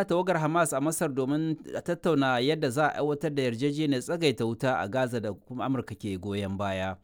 Tawagar Hamas a Masar domin a tattauna yadda za a aiwatar da yarjejeniyar tsagaita wuta a Gaza da kuma Amurka ke goyon baya.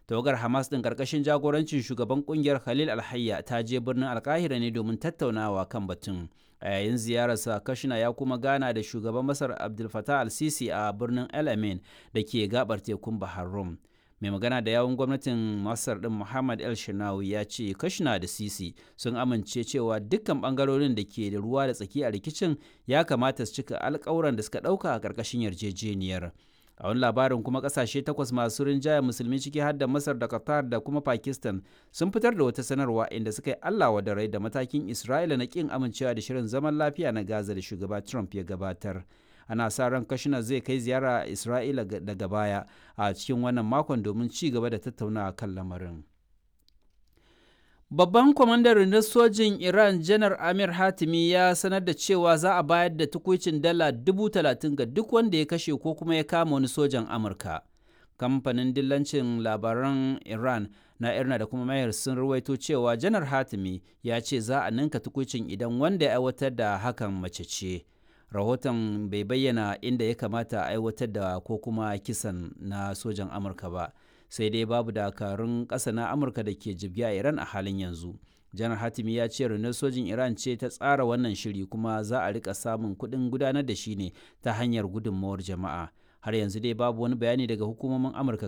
Tawagar Hamas din karkashin jagorancin shugaban kungiyar Khalil Alhayya ta je birnin Alkahira ne domin tattaunawa kan batun. A yayin ziyararsa, Kashina ya kuma gana da shugaban Masar Abdul Fattah al-Sisi a birnin El Amin da ke gabar tekun Bahar Rum. Mai magana da yawun gwamnatin Masar din Muhammad El Shinawi ya ce Kashina da Sisi sun amince cewa dukkan bangarorin da ke da ruwa da tsaki a rikicin ya kamata su cika alkawuran da suka dauka a karkashin yarjejeniyar. A wani labarin kuma, kasashe takwas masu rinjaya Musulmi, ciki har da Masar da Qatar da kuma Pakistan, sun fitar da wata sanarwa inda suka yi Allah wa rai da matakin Isra'ila na kin amincewa da shirin zaman lafiya na Gaza da shugaba Trump ya gabatar. Ana sa ran Kashina zai kai ziyara Isra'ila daga baya a cikin wannan makon domin ci gaba da tattaunawa kan lamarin. Babban kwamandan rundunar sojin Iran, Janar Amir Hatimi, ya sanar da cewa za a bayar da tukuicin dala 30,000 ga duk wanda ya kashe ko kuma ya kama wani sojan Amurka. Kamfanin dillancin labaran Iran na Irna da kuma Mayar sun ruwaito cewa Janar Hatimi ya ce za a ninka tukuicin idan wanda ya aiwatar da hakan mace ce. Rahoton bai bayyana inda ya kamata a aiwatar da ko kuma kisan na sojan Amurka ba. Sai dai babu dakarun ƙasa na Amurka da ke jibge a Iran a halin yanzu. Janar Hatimi ya ce rundunar sojin Iran ce ta tsara wannan shiri, kuma za a rika samun kuɗin gudanar da shi ne ta hanyar gudunmawar jama'a. Har yanzu dai babu wani bayani daga hukumomin Amurka.